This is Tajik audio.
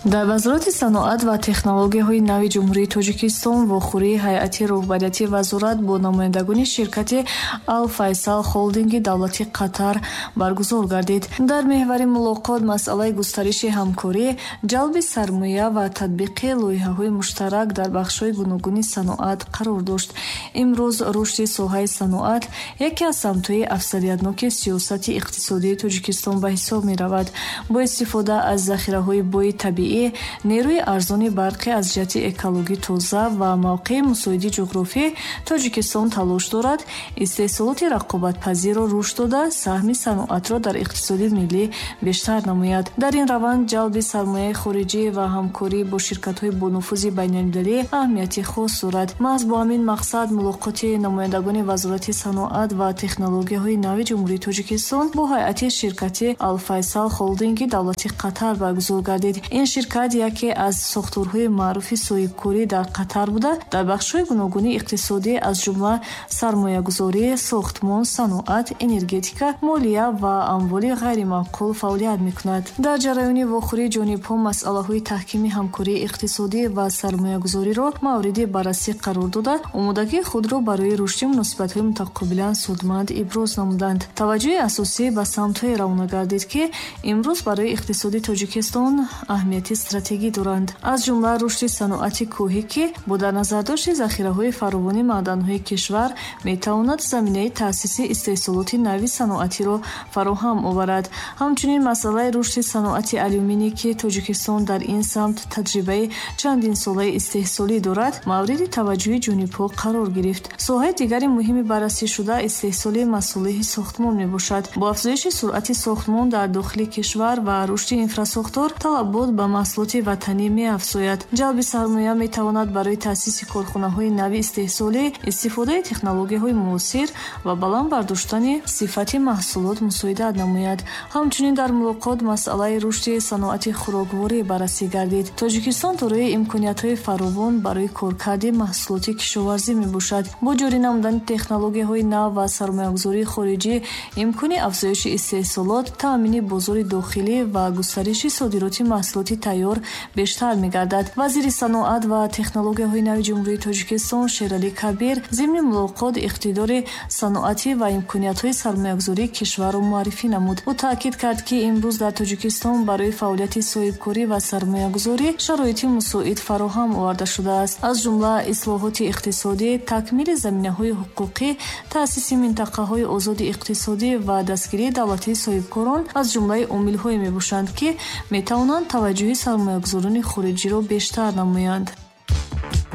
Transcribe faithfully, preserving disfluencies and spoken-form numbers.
Дар Вазорати саноат ва технологияҳои нави Ҷумҳурии Тоҷикистон вохӯрии ҳайати роҳбарияти вазорат бо намояндагони ширкати Ал-Файсал Холдинги давлати Қатар баргузор гардид. Дар меҳвари мулоқот масъалаи густариши ҳамкорӣ, ҷалби сармоя ва татбиқи лоиҳаҳои муштарак дар бахшҳои гуногуни саноат қарор дошт. Имрӯз рушди соҳаи саноат яке аз самтҳои афзалиятноки сиёсати иқтисодии Тоҷикистон ба ҳисоб меравад. Бо истифода аз захираҳои бои табиӣ, нерӯи арзони барқӣ аз ҷиҳати экологӣ тоза ва мавқеи мусоиди ҷуғрофӣ, Тоҷикистон талош дорад истеҳсолоти рақобатпазирро рушд дода, саҳми саноатро дар иқтисоди миллӣ бештар намояд. Дар ин раванд ҷалби сармояи хориҷӣ ва ҳамкорӣ бо ширкатҳои бонуфузи байналмилалӣ аҳамияти хос дорад. Маҳз бо ҳамин мақсад мулоқоти намояндагони Вазорати саноат ва технологияҳои нави Ҷумҳурии Тоҷикистон бо ҳайати ширкати Ал-Файсал Холдинги давлати Қатар баргузор гардид. Ин ширкат яке аз сохторҳои маъруфи соҳибкорӣ дар Қатар буда, дар бахшҳои гуногуни иқтисодӣ аз ҷумла сармоягузорӣ, сохтмон, саноат, энергетика, молия ва амволи ғайриманқул фаъолият мекунад. Дар ҷараёни вохӯрии ҷонибҳо масъалаҳои таҳкими ҳамкории иқтисодӣ ва сармоягузориро мавриди баррасӣ қарор дода, омодагии худро барои рушди муносибатҳои мутақобилан судманд иброз намуданд. Таваҷҷӯҳи асосӣ ба самтҳое равона гардид, ки имрӯз барои иқтисоди Тоҷикистон аҳамияти стратегӣ доранд, аз ҷумла рушди саноати кӯҳӣ, ки бо дар назардошти захираҳои фаровони маъданҳои кишвар метавонад заминаи таъсиси истеҳсолоти нави саноатиро фароҳам оварад. Ҳамчунин масъалаи рушди саноати алюминӣ, ки Тоҷикистон дар ин самт таҷрибаи чандинсолаи истеҳсолӣ дорад, мавриди таваҷҷӯҳи ҷонибҳо қарор гирифт. Соҳаи дигари муҳими баррасӣшуда истеҳсоли масолеҳи сохтмон мебошад. Бо афзоиши суръати сохтмон дар дохили кишвар ва рушди инфрасохтор талабот ба маҳсулоти ватанӣ меафзояд. Ҷалби сармоя метавонад барои таъсиси корхонаҳои нави истеҳсолӣ, истифодаи технологияҳои муосир ва баланд бардоштани сифати маҳсулот мусоидат намояд. Ҳамчунин дар мулоқот масъалаи рушди саноати хӯрокворӣ баррасӣ гардид. Тоҷикистон дорои имкониятҳои фаровон барои коркарди маҳсулоти кишоварзӣ мебошад. Бо ҷорӣ намудани технологияҳои нав ва сармоягузории хориҷӣ имкони афзоиши истеҳсолот, таъмини бозори дохилӣ ва густариши содироти маҳсулоти тайёр бештар мегардад. Вазири саноат ва технологияҳои нави Ҷумҳурии Тоҷикистон Шералӣ Кабир зимни мулоқот иқтидори саноатӣ ва имкониятҳои сармоягузории кишварро муаррифӣ намуд. Ӯ таъкид кард, ки имрӯз дар Тоҷикистон барои фаъолияти соҳибкорӣ ва сармоягузорӣ шароити мусоид фароҳам оварда шудааст, аз ҷумла ислоҳоти иқтисодӣ, такмили заминаҳои ҳуқуқӣ, таъсиси минтақаҳои озоди иқтисодӣ ва дастгирии давлатии соҳибкорон аз ҷумлаи омилҳое мебошанд, ки метавонанд таваҷҷӯҳи сармоягузорони хориҷиро бештар намоянд.